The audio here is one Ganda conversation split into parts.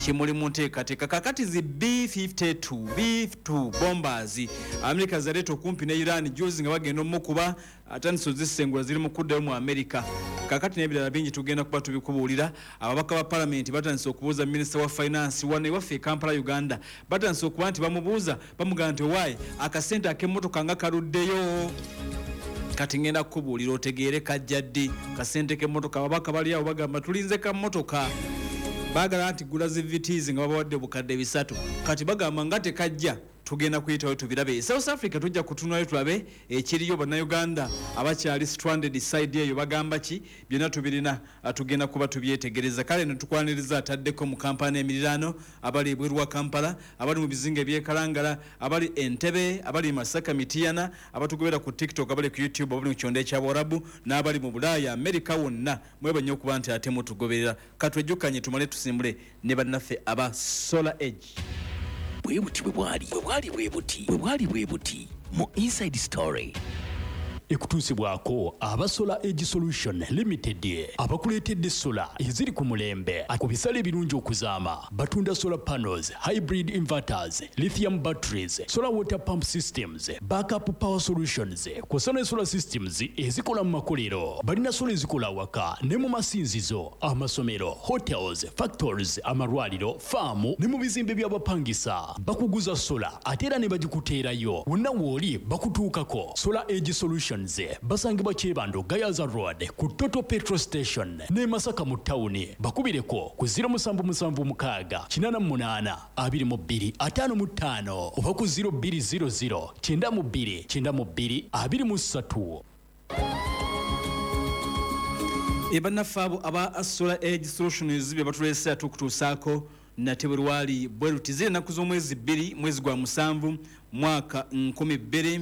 Kimuli mu nteekateeka kakati zi B52 B2 bombers Amerika zaleeta okumpi ne Iran juzi nga bagenda omukuba, atandise ozisengula, ziri mu kuddayo mu Amerika. Kakati n'ebirala bingi tugenda kuba tubikubuulira. Ababaka ba palamenti batandise okubuuza minisita wa finance wano ewaffe e Kampala, Uganda. Batandise okuba nti bamubuuza, bamugamba nti, "Owaaye, akasente ak'emmotoka nga kaluddeyo?" Kati ngenda kukubuulira otegeere kajja ddi kasente k'emmotoka. Ababaka bali awo bagamba, "Tulinze ka mmotoka." Baagala nti gula zi Vitz nga babawadde 3,000. Kati bagamba nga tekajja, tugenda kuyitawo tubirabe. South Africa tujja kutunayo tulabe ekiriyo, Bannayuganda abakyali stranded side eyo bagamba ki. Byonna tubirina, tugenda kuba tubyetegereza. Kale netukwaniriza ataddeko mu Kampala emiriraano, abali ebweru wa Kampala, abali mu bizinga ebyekalangala, abali Entebe, abali Masaka, Mitiyana, abatugobera ku TikTok, abali ku YouTube, abali mu kyondo ekyabawarabu n'abali mu Bulaaya, Amerika, wonna mweba nnyo okuba nti ate mutugoberera. Katwejjukanye tumale tusimbule ne bannaffe aba Solar Edge. Bwe buti bwe bwali, bwe bwali bwe buti, bwe bwali bwe buti mu Inside Story. Ekutuusibwako aba Solar Edge Solution Limited, abakuleetedde sola eziri ku mulembe ku bisale ebirungi okuzaama. Batunda solar panels, hybrid inverters, lithium batteries, solar water pump systems, backup power solutions, kw'ossa ne solar systems ezikola mu makolero. Balina sola ezikola awaka ne mu masinzizo, amasomero, hotels, factories, amalwaliro, faamu ne mu bizimbe by'abapangisa. Bakuguza sola ate era ne bagikuteerayo wonna w'oli, bakutuukako. Solar Edge Solutions basangibwa Kyebando, Gayaza Road, ku Total petrol station, ne Masaka mu tawuni. Bakubireko ku 0776 88 22 55 oba ku 0200 92 92 23. Bannaffe abo aba Solar Edge Solutions bye batuleese ate okutuusaako nate bwe lwali bwe luti. Ziri ennaku z'omwezi 2, mwezi gwa 7, mwaka 2000,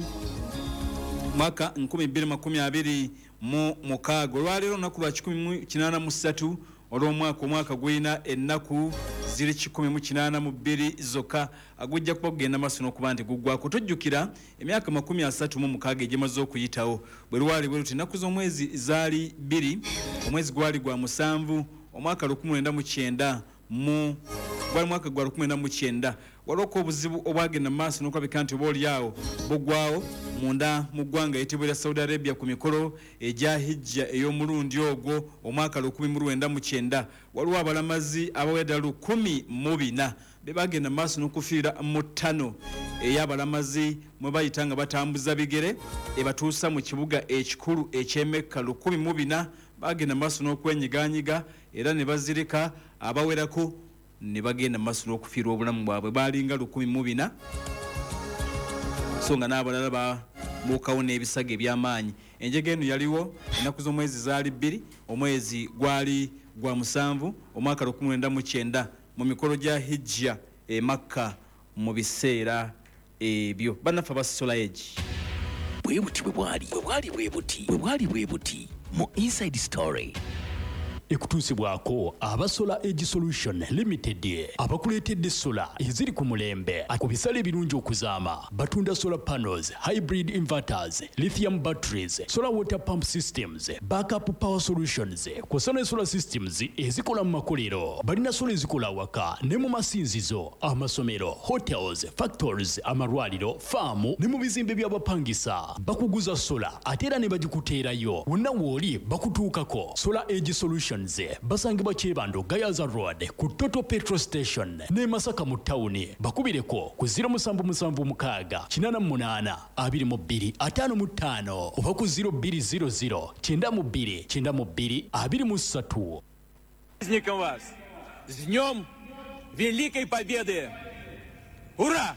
mwaka 2026. Olwaleero olunaku lwa 183 olw'omwaka. Omwaka gulina ennaku ziri 182 zokka, gujja kuba kugenda maaso n'okuba nti guggwako. Tujjukira emyaka 36 egimaze okuyitawo, bwe lwali bwe luti, ennaku z'omwezi zaali 2, omwezi gwali gwa 7, omwaka 1990 mu gwali mwaka gwa 1990. Waliwo obuzibu obwagenda mu maaso n'okulabika nti oba oliawo bugwawo munda mu ggwanga eyitibwa erya Saudi Arabia ku mikolo egya hijja ey'omulundi ogwo omwaka 1990. Waliwo abalamazi abawera ddala 1004 be bagenda mu maaso n'okufiira mu ttano ey'abalamazi mwe bayita nga batambuza bigere ebatuusa mu kibuga ekikulu eky'Emekka. 1004 bagenda mu maaso n'okwenyiganyiga era ne bazirika, abawerako ne bagenda mu maaso n'okufiirwa obulamu bwabwe. Balinga 1004, so nga n'abalala babuukawo n'ebisago eby'amaanyi. Enjega eno yaliwo ennaku z'omwezi zaali 2, omwezi gwali gwa 7, omwaka 1990, mu mikolo gya hijja e Makka mu biseera ebyo. Bannaffe aba Solar Edge. Bwe buti bwe bwali, bwe bwali bwe buti, bwe bwali bwe buti mu Inside Story. Ekutuusibwako aba Solar Edge Solution Limited, abakuleetedde sola eziri ku mulembe ku bisale ebirungi okuzaama. Batunda solar panels, hybrid inverters, lithium batteries, solar water pump systems, backup power solutions, kw'ossa ne solar systems ezikola mu makolero. Balina sola ezikola awaka ne mu masinzizo, amasomero, hotels, factories, amalwaliro, faamu ne mu bizimbe by'abapangisa. Bakuguza sola ate era ne bagikuteerayo wonna w'oli, bakutuukako. Solar Edge Solutions basangibwa Kyebando, Gayaza Road, ku Total petrol station, ne Masaka mu tawuni. Bakubireko ku 0776 88 22 55 oba ku 0200 92 92 23. Праздником вас! С Днем Великой Победы! Ура!